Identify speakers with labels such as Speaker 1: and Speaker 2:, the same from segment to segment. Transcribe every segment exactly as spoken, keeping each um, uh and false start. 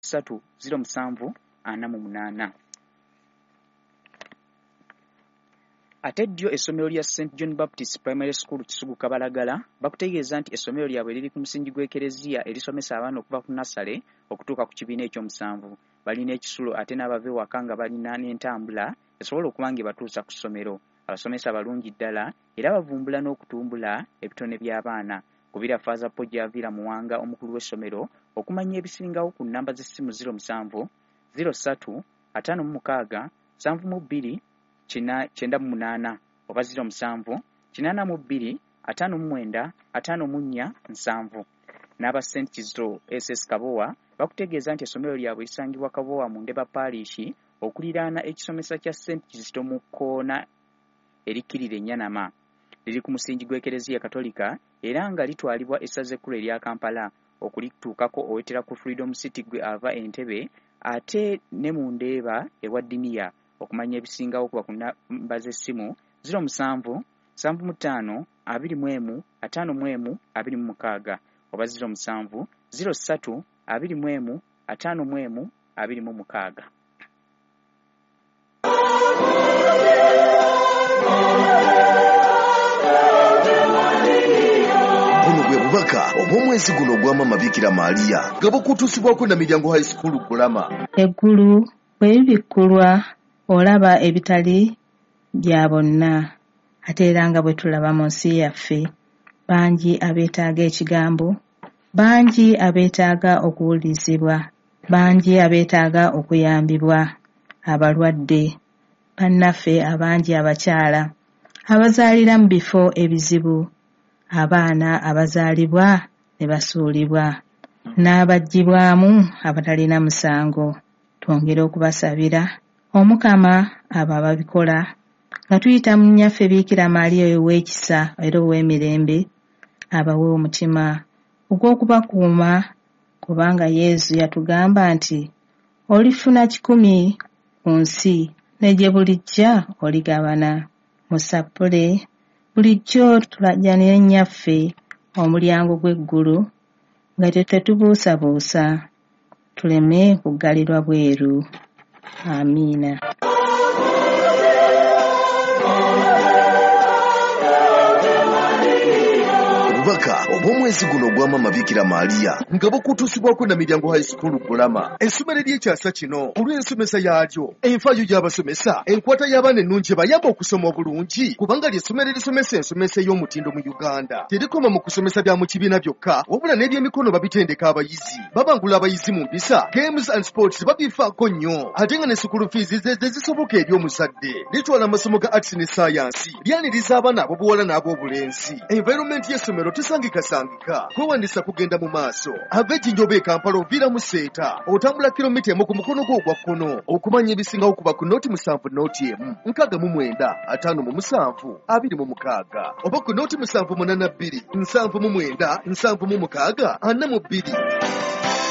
Speaker 1: ssatu ziro musanvu ana mu munaana. Ate ddyo essomero lya Saint John Baptist Primary School Kisugu Kabalagala bakutegeeza nti essomero lyabwe liri ku musingi gw'Ekereziya erisomesa abaana okuva ku nassale okutuuka ku kibiina ekyomusanvu. Balina ekisulo ate n'abava ewaka nga balina n'entambula esobola okuba nga ebatuusa ku ssomero. Abasomesa balungi ddala era bavumbula n'okutumbula ebitone by'abaana. Kubira Faaza Paul Gy'aviira Muwanga omukulu w'essomero okumanya ebisingawo ku nnamba z'essimu ziro musanvu ziro ssatu ataano mu mukaaga nsanvu mu bbiri kyenda mu munaana oba ziro musanvu kinaana mu bbiri ataano mu mwenda ataano mu nnya nsanvu. N'aba Saint Kizito S S Kabowa bakutegeeza nti essomero lyabwe lisangibwa Kabowa mu Ndeba Parish okuliraana ekisomesa kya Saint Kizito mu kkoona erikkirira Ennyanama. Liri ku musingi gw'Ekereziya Katolika era nga litwalibwa essaza ekkulu erya Kampala. Okulituukako owetera ku Freedom City gwe ava Entebbe ate ne mu Ndeeba ewa Ddiniya. Okumanya ebisingawo kuba ku nnamba z'essimu ziro musanvu nsanvu mu ttaano abiri mu emu ataano mu emu abiri mu mukaaga oba ziro musanvu ziro ssatu abiri mu emu ataano mu emu abiri mu mukaaga.
Speaker 2: Buno bwe bubaka obw'omwezi guno ogwa Maama Bikira Maria nga bukutuusibwako na Miryango High School Bulama.
Speaker 3: Eggulu bwe libikkulwa olaba ebitali bya bonna, ate era nga bwe tulaba mu nsi yaffe, bangi abeetaaga ekigambo, bangi abeetaaga okuwulirizibwa, bangi abeetaaga okuyambibwa, abalwadde, bannaffe abangi abakyala, abazaalira mu bifo ebizibu, abaana abazaalibwa ne basuulibwa, n'abaggyibwamu abatalina musango. Twongere okubasabira Omukama abo ababikola nga tuyita mu nnyaffe Bikira Maria ow'ekisa era ow'emirembe, abawe omutima ogw'okubakuuma, kubanga Yesu yatugamba nti olifuna kikumi ku nsi ne gye bulijja oligabana. Mu ssappule bulijjo tulajjanire nnyaffe omulyango gw'eggulu nga tetubuusabuusa, tuleme kuggalirwa bweru. Amiina.
Speaker 2: Obubaka obw'omwezi guno ogwa Maama Bikira Maria nga bukutuusibwako na Miryango High School Bulama. Essomero ery'ekyasa kino olw'ensomesa yaalyo, enfaayo y'abasomesa, enkwata y'abaana ennungi ebayamba okusoma obulungi, kubanga ly'essomero erisomesa ensomesa ey'omutindo mu Uganda. Terikoma mu kusomesa bya mu kibiina byokka, wabula n'ebyemikono babitendeka abayizi. Babangula abayizi mu mpisa, games and sports babifaako nnyo, ate nga ne school fees ze zisoboka eri omuzadde. Litwala amasomo ga arts ne science, lyaniriza abaana ab'obuwala n'ab'obulenzi. Environment y'essomero tesangikasangika. Kwewandiisa kugenda mu maaso. Ava Ejjinja oba e Kampala oviira mu Seeta, otambula kilomita emu ku mukono gwo ogwa kkono. Okumanya ebisingawo kuba ku nooti musanvu nooti emu nkaaga mu mwenda ataano mu musanvu abiri mu mukaaga oba ku nooti musanvu munaana bbiri nsanvu mu mwenda nsanvu mu mukaaga ana mu bbiri.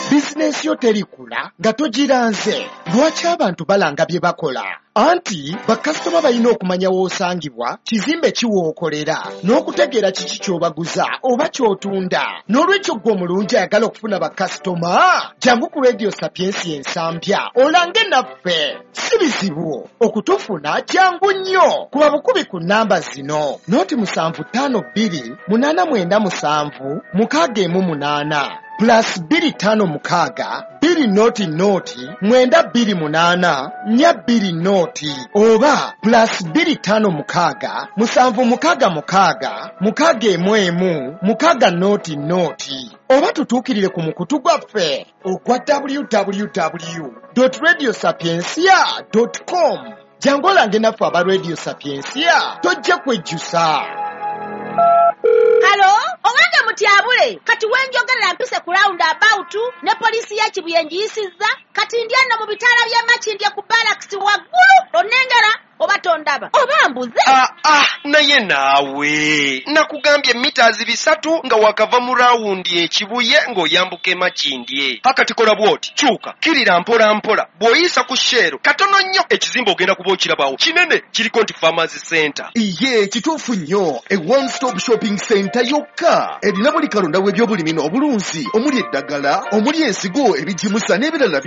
Speaker 4: Bizinensi yo terikula nga togiranze. Lwaki abantu balanga bye bakola? Anti bakasitoma balina okumanya w'osangibwa, kizimbe ki w'okolera, n'okutegeera kiki ky'obaguza oba ky'otunda. N'olwekyo ggwe omulungi ayagala okufuna bakasitoma, jangu ku Radio Sapiensia Ensambya olange naffe. Si bizibu okutufuna, kyangu nnyo. Kuba bukubi ku nnamba zino: nooti musanvu ttaano bbiri munaana mwenda musanvu mukaaga emu munaana plus bbiri ttaano mukaaga bbiri nooti nooti mwenda bbiri munaana nnya bbiri nooti oba plus bbiri ttaano mukaaga musanvu mukaaga mukaaga mukaaga emu emu mukaaga nooti nooti oba tutuukirire ku mukutu gwaffe ogwa w w w dot radio sapiensia dot com. Jangu olange naffe aba Radio Sapiensia, tojja kwejjusa.
Speaker 5: Halo, owange mutyabule, kati wenjogerera mpise ku round about ne poliisi ya Kibuye ngiyisizza, Kati ndi eno mu bitaala by'e Makindye ku Barracks waggulu, onnengera oba tondaba oba mbuze?
Speaker 6: Ah, ah, naye naawe nakugambye mita bisatu nga wakava mu rawundi ekibuye ng'oyambuka e Makindye. Akati kola bw'oti, kyuka kirira mpola mpola, bw'oyisa ku Shell katono nnyo ekizimbe ogenda kuba okirabawo kinene, kiriko nti Farmers Center.
Speaker 2: Iye kituufu nnyo, e one stop shopping center yokka erina buli kalonda w'ebyobulimi n'obulunzi, omuli eddagala, omuli ensigo, ebigimusa n'ebirala.